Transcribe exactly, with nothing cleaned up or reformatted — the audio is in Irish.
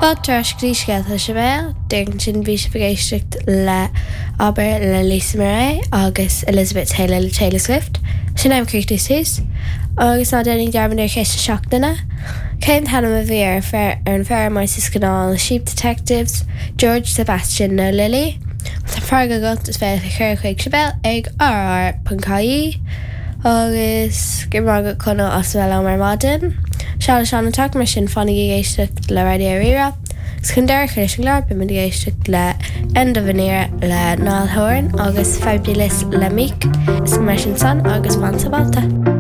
Fáilte ar ais go dtí Scéalta Sibéal, Dúirt sin bhí sibh ag éisteacht le Abair le Lisa Murray agus Elizabeth Taylor le Taylor Swift. Sin am críochtú suas, agus ná déanaigí dearmad ar cheist na seachtaine. Cén t-ainm a bhí ar fer ar an bhfeirmeoir sa scannán Sheep Detectives, George Sebastian nó Lily. Tá freagra agat is féidir chur chuig Sibéal ag rr.ie agus go raibh Conall as bheith liom ar maidin. Seal sean teach mar sin fanaigí ag éisteacht le Raidió Rí-Rá. Chun deireadh leis an gclár beimid ag éisteacht le End of an Era le Niall Horan agus Fabulous le Meek, is mar sin san agus fan sábháilte.